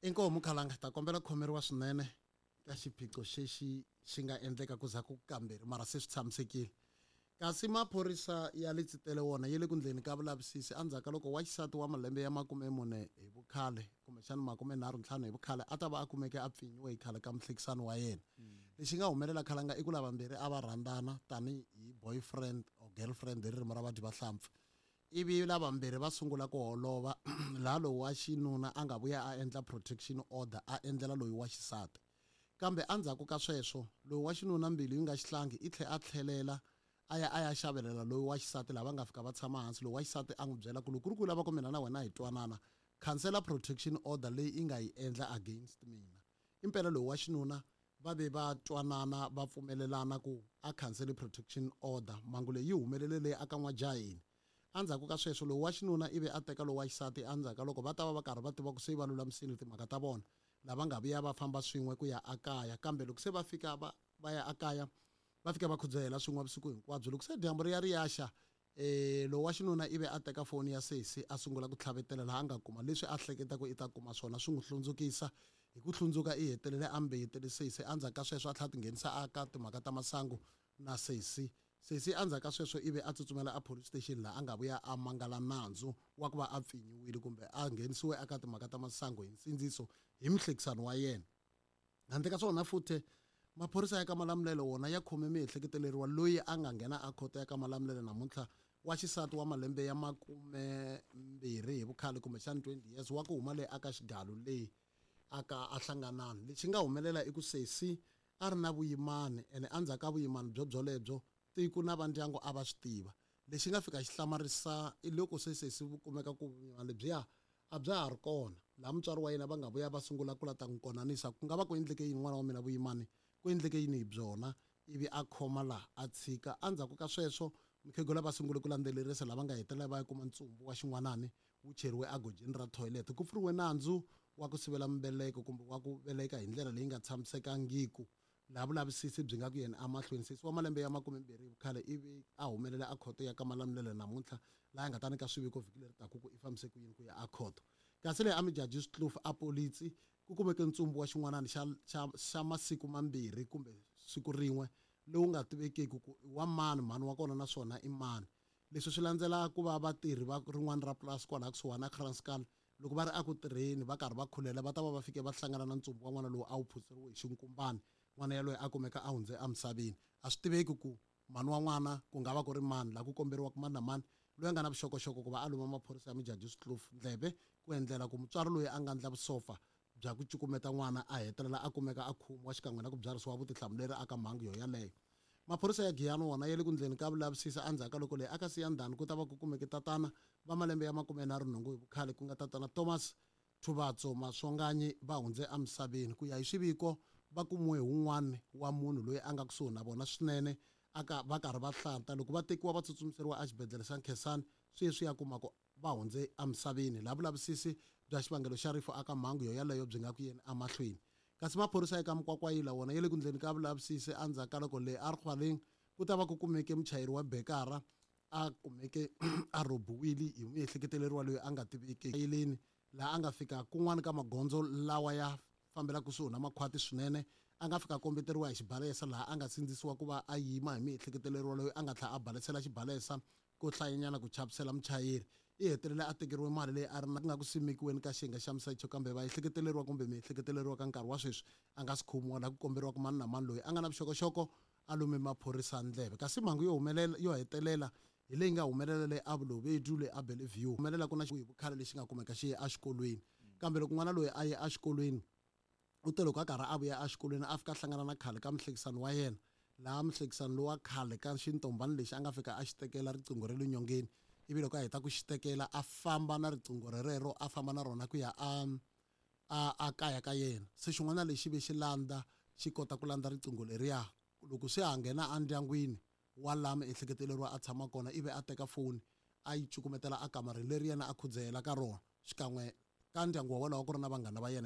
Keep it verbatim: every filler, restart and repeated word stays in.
Inkomu Khalanga, ta kombela ku khomeriwa swinene ka xiphiqo xexi xi nga endleka ku za ku kambirhi, mara se swi tshamisekile. Kasi maphorisa ya le Tsitele wona ya le ku ndleni ka vulavisisi endzhaku ka loko wa xisati wa malembe ya makume mune hi vukhale, kumbexana makume nharhu ntlhanu hi vukhale, a ta va a kumeke a pfinyiwe hi khale ka muhlekisani wa yena. Lexi nga humelela Khalanga i ku lavambirhi a va rhandzana tanihi boyfriend or girlfriend hi ririmi ra vadyi va hlampfi, ivi lavambirhi va sungula ku holova, laha lowu wa xinuna a nga vuya a endla protection order a endlela loyi wa xisati. Kambe endzhaku ka sweswo loyi wa xinuna mbilu yi nga xihlangi i tlhe a tlhelela a ya a ya xavelela loyi wa xisati, lava nga fika va tshama hansi. Loyi wa xisati a n'wi byela ku loko ku ri ku lava ku mina na wena hi twanana, khansela protection order leyi i nga yi endla against mina. Impela loyi wa xinuna va ve va twanana, va pfumelelana ku a khansele protection order. Mhangu leyi yi humelele leyi aka N'wajaheni. Endzhaku ka sweswo loyi wa xinuna ivi a teka loyi wa xisati, endzhaku ka loko va ta va va karhi va tiva ku se va lulamisile timhaka ta vona, lava nga vuya va famba swin'we ku ya akaya. Kambe loko se va fika va va ya akaya, va fika va khudzahela swin'we vusiku hinkwabyo. Loko se dyambu ri ya ri ya xa, eh loyi wa xinuna ivi a teka foni ya sesi a sungula ku tlhavetela, laha a nga kuma leswi a hleketa ku i ta kuma swona, swi n'wi hlundzukisa. Hi ku hlundzuka i hetelele a mbeyetele sesi. Endzhaku ka sweswo a tlhela a tinghenisa aka timhaka ta masangu na sesi. Sesi endzhaku ka sweswo ivi a tsutsumela a police station, laha a nga vuya a mangala nandzu wa ku va a pfinyiwile kumbe a nghenisiwe eka timhaka ta masangu hi nsindziso hi muhlekisani wa yena. Handle ka swona futhi, maphorisa ya ka Malamulele wona ya khome miehleketeleriwa loyi a nga nghena a khoto ya ka Malamulele namuntlha, wa xisati wa malembe ya makume mbirhi hi vukhale, kumbexana twenty years, wa ku huma leyi aka Xigalu leyi aka a hlanganani. Lexi nga humelela i ku sesi a ri na vuyimani, ene endzhaku ka vuyimani byo byolebyo tiko na vandyangu a va swi tiva. Lexi nga fika xi hlamarisa i loko se sesi vu kumeka ku vuyimani lebyiya a bya ha ri kona, laha mutswari wa yena va nga vuya va sungula ku la ta n'wi konanisa ku nga va ku endleke yini n'wana wa mina vuyimani, ku endleke yini hi byona, ivi a khoma laha a tshika. Endzhaku ka sweswo mukhegula va sungule ku landzelerisa, lava nga hetelela va ya kuma ntsumbu wa xin'wanani wu cheriwe egojini ra toilet. Ku pfuriwe nandzu wa ku sivela mbeleko kumbe wa ku veleka hi ndlela leyi nga tshamisekangiku, laha vulavisisi byi nga ku yena emahlweni. Sesi wa malembe ya makumembirhi hi vukhale ivi a humelela a khoto ya ka Malamulele namuntlha, laha nga ta nyika swiviko vhiki leri taku ku i fambise ku yini ku ya a khoto. Kasi leyi a Mijaji Switluf a polisi ku kumeke ntsumbu wa xin'wanani xa xa xa masiku mambirhi kumbe siku rin'we, lowu nga tivekiki ku i wa mani, mhani wa kona naswona i mani. Leswi swi landzela ku va vatirhi va rin'wana ra purasi kwalaha kusuhani na Kranskal, loko va ri eku tirheni va karhi va khulela, va ta va va fike va hlangana na ntsumbu wa n'wana lowu a wu phutseriwe hi xinkumbani. N'wana yaloye a kumeka a hundze emisaveni. A swi tiveki ku mhani wa n'wana ku nga va ku ri mani, laha ku komberiwaka mani na mani loyi a nga na vuxokoxoko ku va a luma maphorisa ya Mijaji Switluf ndleve, ku endlela ku mutswari loyi a nga ndla vusofa bya ku cukumeta n'wana a hetelela a kumeka a khomiwa xikan'we na ku byarisiwa vutihlamuleri aka mhangu yo yaleyo. Maphorisa ya Giyani wona ya le ku ndleni ka vulavisisi endzhaku ka loko leyi aka Siyandhani ku ta va ku kumeke tatana va malembe ya makume nharhu nhungu hi vukhale, ku nga tatana Thomas Thubatso Maswanganyi, va hundze emisaveni. Ku ya hi swiviko va kumiwe hi wun'wana wa munhu loyi a nga kusuhi na vona swinene, aka va karhi va hlanta. Loko va tekiwa va tsutsumiseriwa exibedhlele xa Nkhensani, swi ye swi ya kuma ku va hundze emisaveni, laha vulavisisi bya xivangelo xa rifu aka mhangu yo yaleyo byi nga ku yeni emahlweni. Kasi maphorisa eka Mukwakwayila wona ya le ku ndleni ka vulavisisi endzhaku ka loko le Arhwaleng ku ta va ku kumeke muchayeri wa bekara a kumeke a rhobiwile hi muehleketeleriwa loyi a nga tiveki yeleni, laha a nga fika kun'wana ka magondzo lawa ya fambela kusuhi na makhwati swinene, a nga fika kombeteriwa hi xibalesa, laha a nga sindzisiwa ku va a yima hi miehleketeleriwa loyi a nga tlhela a balesela xibalesa ko hlayanyana ku chavisela muchayeri. I hetelele a tekeriwe mali leyi a ri na ku nga ku simekiweni ka xiyenge xa misecho, kambe va ehleketeleriwa kumbe miehleketeleriwa ka nkarhi wa sweswi a nga si khomiwa, laha ku komberiwaka mani na mani loyi a nga na vuxokoxoko a lume maphorisa ndleve. Kasi mhangu yo humelela yo hetelela hi leyi nga humelela leyi a Vulovedu leyi a Bellevue, humelela ku na hi vukhale lexi nga kumeka xi ye exikolweni. Kambe loko n'wana loyi a ye exikolweni, u te loko a karhi a vuya exikolweni a fika a hlangana na khale ka muhlekisani wa yena, laha muhlekisani lowa khale ka xintombani lexi a nga fika a xi tekela riqingho ra le nyongeni, ivi loko a heta ku xi tekela a famba na riqingho rerero, a famba na rona ku ya a a a kaya ka yena. Se xin'wana lexi ve xi landza xi kota ku landza riqingho leriya, loko se a nghena endyangwini wa laha miehleketeleriwa a tshama kona, ivi a teka foni a yi cukumetela akamareni leri yena a khudzahela ka rona, xikan'we ka ndyangu wa wolowo ku ri na vanghana va yena.